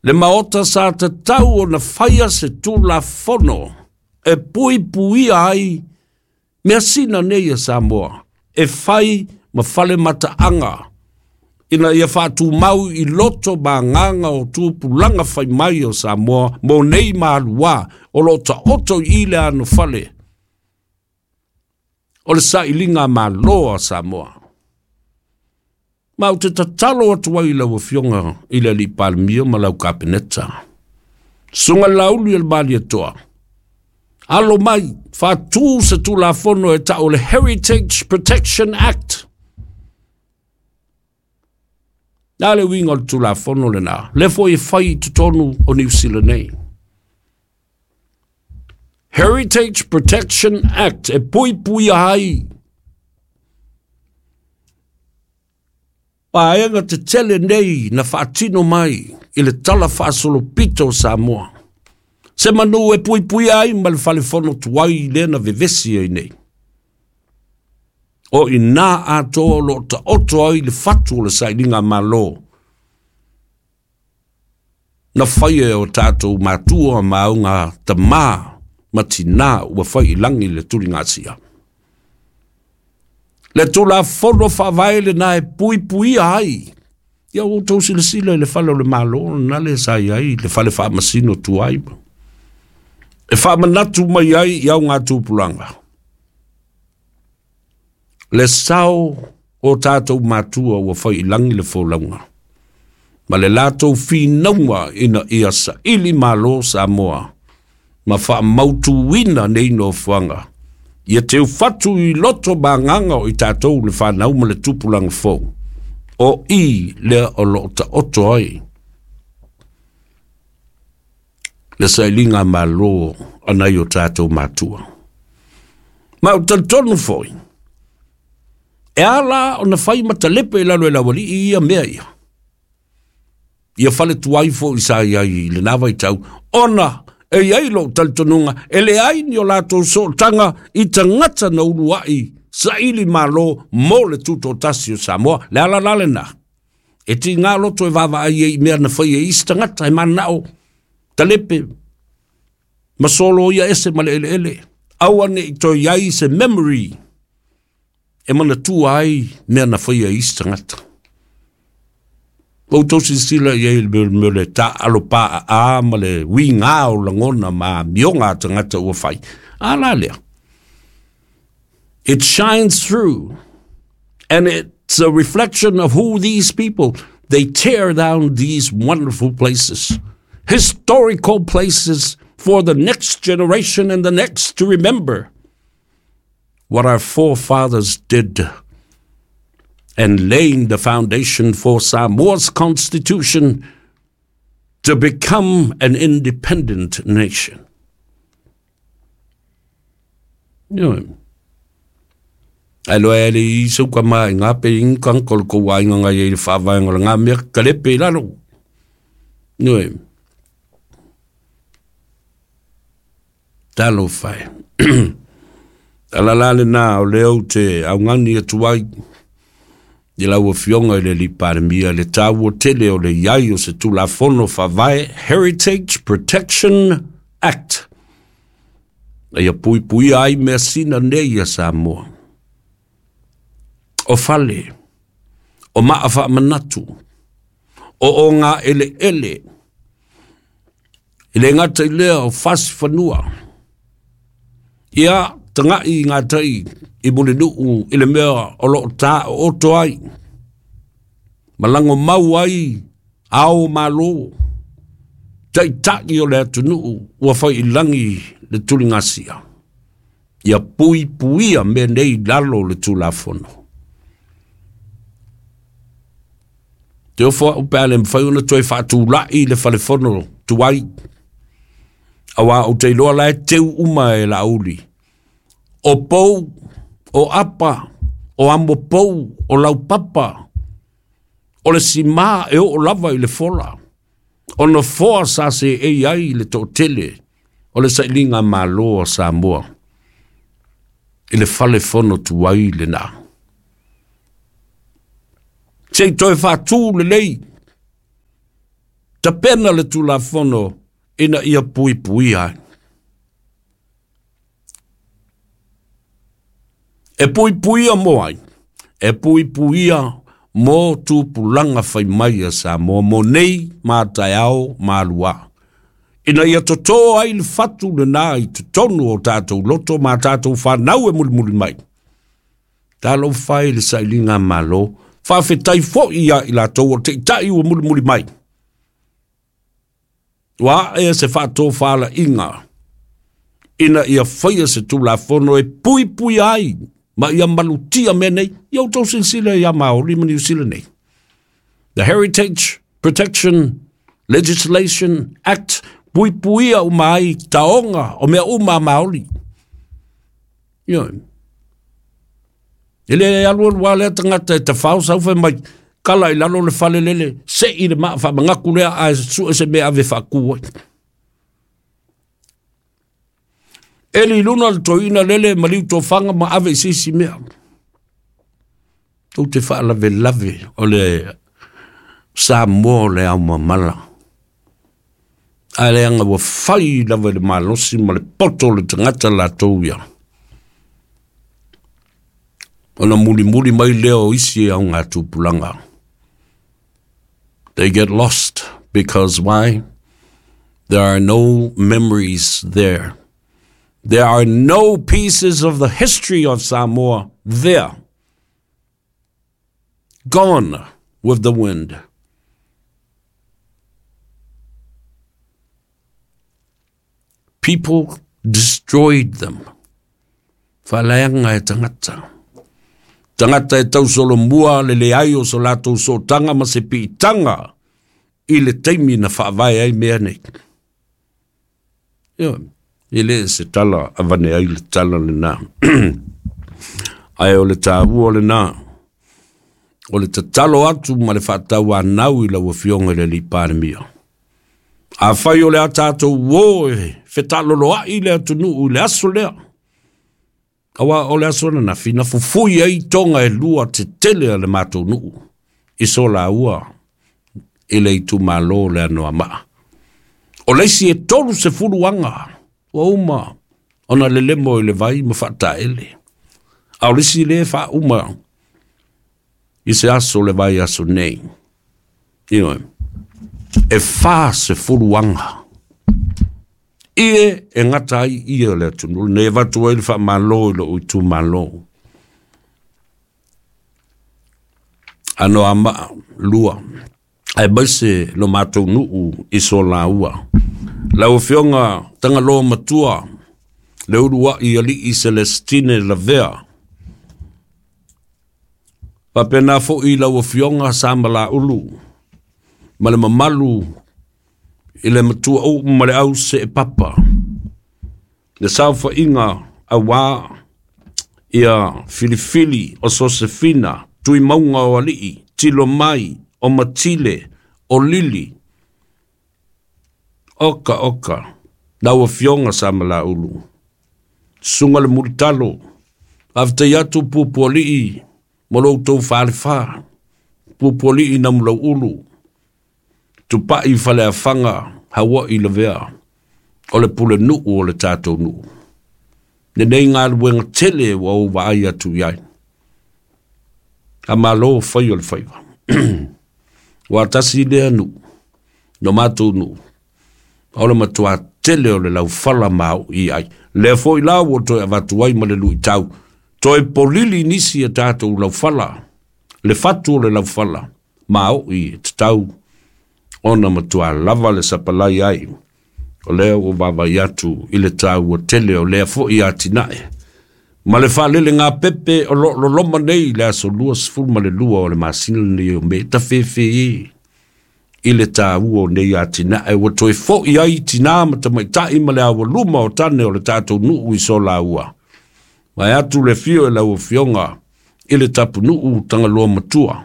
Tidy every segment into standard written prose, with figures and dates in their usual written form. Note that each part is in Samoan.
Le maota sa tatau ona faia se tulafono e puipuia ai measina nei a Samoa e fai ma fale mataaga ina ia faatumau i loto ma agaga o tupulaga fai mai o Samoa mo nei maluā o lo o taoto i le anofale o le sailiga malo a Samoa. Ma ou te tatalo atu ai i lau Afioga i le Alii Palemia ma lau Kapeneta. Susuga Laauli o le Malietoa, alo mai, faatu se Tulafono e tau o le Heritage Protection Act. Na le uiga o le Tulafono lena, lea foi e fai i totonu o Niu Sila nei. Heritage Protection Act e puipuia ai vaega tetele nei na faatino mai i le tala faasolopito o Samoa. Se manu e puipuia ai ma le falefono tuai lea na vevesi ai nei. O i nā atoa o lo o taoto ai le fatu o le sailiga malo na faia e o tatou matua ma auga tamā ma tinā ua fai i lagi le tuligasia. Le Tulafono Faavae lena e puipuia ai. Ia ua outou silasila i le fale o le Malo lena le sa i ai le fale faamasino tuai. E faamanatu mai ai i augatupulaga le sao o tatou matua ua fai i lagi le folauga ma le latou finauga ina ia saili malo Samoa ma faamautuina nei nofoaga ia teufatu i loto ma agaga o i tatou le fanau ma le tupulaga fou o i lea o lo o taoto ai le sailiga malo a nai o tatou matua. Ma ou talitonu foi, e ala ona fai ma talepe i lalo e le aualii ia mea ia. Ia fale tuai foi sa i ai i lena vaitau, ona e i ai lou talitonuga e leai ni o latou sootaga i tagata na uluai saili malo mo le tutoatasi o Samoa. Le ala la lena, e tiga loto e vaavaai ai i mea na fai e isi tagata e mananao talepe ma solo ia ese ma le eleele. Aua ne i toe i ai se memory e manatua ai mea na faia e isi tagata. Ua outou silasila i ai i le mea o le taaalo paaa ma le uiga o lagona ma amioga a tagata ua fai. A la lea? It shines through and it's a reflection of who these people, they tear down these wonderful places, historical places for the next generation and the next to remember what our forefathers did and laying the foundation for Samoa's constitution to become an independent nation. Ioe. Ae loa e le i sau ka ma i ngā pe ingi kang ko ko wa inga ngai i le whaavaenga o le ngā mea kalepe i lalo. Ioe. Talofa e. Ala la lena o lea ou te augani atu ai i lau Afioga i le Alii Palemia le taua tele o le i ai o se Tulafono Faavae Heritage Protection Act a ia puipuia ai measina nei a Samoa. O fale, o maa faamanatu, o o ngā eleele, e le gata i lea o fasi fanua. Ia, taga'i i ngā tai i Mulinuu i le mea o lo o tāooto ai, ma lago mau ai ao o Malo, taitai o le atunuu ua fai i lagi le tuligasia. Ia puipuia mea nei i lalo o le Tulafono. Te ofo au pe a le mafai ona toe faatulai le falefono tuai, aua ou te iloa la e teu uma e Laauli. O pou, o apa, o amo pou, o laupapa, o le simā e oo lava i le fola, o nofoa sa seei ai le toatele o le sailiga malo a Samoa i le fale fono tuai lena. Se i toe faatū lelei. Tapena le Tulafono ina ia puipuia ai. E puipuia mo ai, e puipuia mo tupulaga fai mai a Samoa mo nei ma taeao ma aluā. Ina ia totō ai le fatu lenā i totonu o tatou loto ma tatou fanau e mulimuli mai. Talofa e i le sailiga a Malo, faafetai foi ia i latou o taitai ua mulimuli mai. Ua ae se faatofalaiga ina ia faia se Tulafono e puipuia ai ma ia malutia mea nei. Ia outou silasila ia Maori ma Niu Sila nei. The Heritage Protection Legislation Act puipuia uma ai taoga o mea uma a Maori. Ioe. E le alualu lava lea tagata e tafao sau fai mai, kala i lalo le fale lele, sei le maa faamagaku lea ae sue se mea ave faatu ai. Eli i luna le toeaina lele maliu tofaga ma ave i se isi mea. Tou te faalavelave o le Samoa o le ao mamala. Ae leaga ua fai lava i le malosi ma le poto o le tagata latou ia. Ona mulimuli mai lea o isi augatupulaga. They get lost because why? There are no memories there. There are no pieces of the history of Samoa there. Gone with the wind. People destroyed them. Faaleaga e tagata. Tagata e tausolomua le leai o so latou sootaga ma se piitaga i le taimi na faavae ai mea nei. Ioe, e le se tala avane ai le tala lenā. Ae o le taua lenā, o le tatalo atu ma le faatauanau i lau Afioga i le Alii Palemia. Afai o le a tatou uō e fetaloloai le atunuu i le aso lea, aua o le aso ananafi na fufui ai toga e lua tetele a le matou nuu i Solaua i le itumalo o le Anoamaa. O le isi e 30 aga ua uma ona lelemo i le vai ma faataele, a o le isi lea e faauma i se aso o le vaiaso nei. Ioe, e 40 aga ie e gata ai ie o le atunuu lenei e avatu ai le faamalo i lou itumalo. Anoamaa 2, aemaise lo matou nuu i Solaua. Lau Afioga Tagaloa Matua, le uluai Alii Celestine Lavea, faapena foi lau Afioga Samalaulu, ma le mamalu i le matua uu ma le au seepapa, le saofaiga auā ia Filifili o Sosefina, Tuimauga o Alii, Tilo Mai, o Matile, o Lili, oka oka, lau Afioga Samalaulu, Susuga le Mulitalo, faafetai atu Puapualii mo lo outou falefa, Puapualii Namulauulu, Tupai Faleafaga, Hawaii Lavea, o le pulenuu o le tatou nuu. Lenei galuega tele ua ou vaai atu i ai. Faamalo fai o le faiva. Ua tasi lea nuu, no matou nuu, o le matua tele o le laufala mao'i ai. Lea foi la ua toe avatu ai ma le luitau, toe polili nisi e tatou laufala, le fatu o le laufala mao'i e tatau ona matua lava le sapalai ai. O lea ua vaavaai atu i le taua tele o lea foi atinae. Ma le faalelegāpepe o lo o loloma nei i le aso 22 o le masina lenei o Me, tafefe i le taua o nei atinae ua toe foi ai tinā ma tamaitai ma le aualuma o tane o le tatou nuu i Solaua. Vaeatu le afio e lau Afioga i le tapunuu Tagaloa Matua.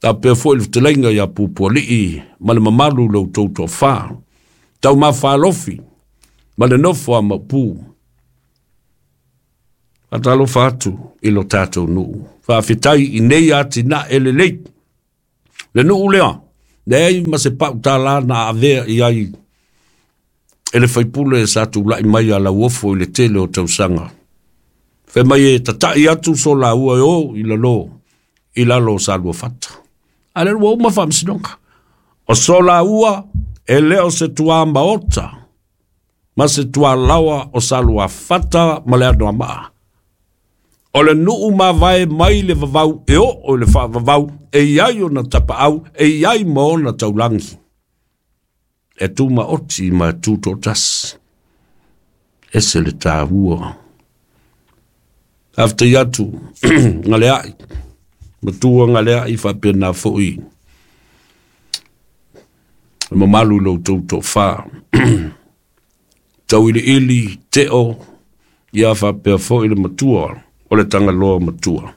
Faapea foi le fetalaiga ia Pupualii ma le mamalu i lo outou toafa, Taumafalofi ma le nofo a Maopu. Faatalofa atu i lo tatou nuu. Faafetai i nei atinae lelei. Le nuu lea, Leai ma se pau tālā na avea i ai e le faipule sa tula'i mai a Lauofo i le tele o tausaga. Fai mai e tata'i atu so laua e o i lalo i lalo o Saluafata. A lea ua uma faamasinoga. O so laua e le o se tuā maota ma se tualaoa o Saluafata ma le Anoamaa. O le nuu mavae mai le vavau e oo i le faavavau e iai ona tapaau e iai ma ona taulagi. E tumaoti ma e tutoatasi. Ese le taua. Faafetai atu galeai, matua galeai faapena foi le mamalu i lo outou toafa. Tauiliili, teo, ia faapea foi le matua o le Tagaloa matua.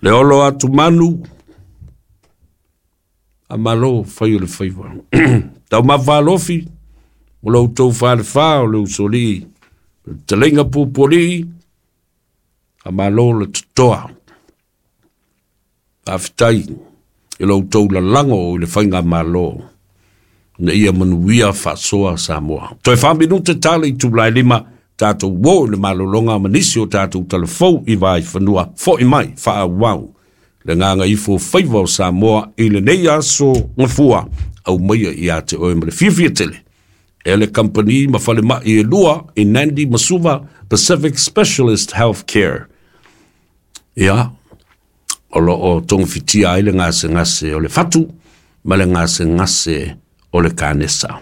Le olo atu manu, a malo fai o le faiva. Taumafa alofi, o lo outou falefa o le usolii, le taleiga pupualii, a malo le totoa. Faafetai i lo outou lalago i le faiga malo, na ia manuia faasoa Samoa. Toe 4 minute tala i tulae 5, tatou o i le malologa ma nisi o tatou talafou i vaifanua fo'i mai faaauau. Le gagaifo faiva o Samoa i lenei aso gafua, aumaia ia te oe ma le fiafia tele e le kamupani ma falemai e lua i Nandi ma Suva Pacific Specialist Healthcare. Ia, o lo o togafitia ai le gasegase o le fatu ma le gasegase o le kanesa.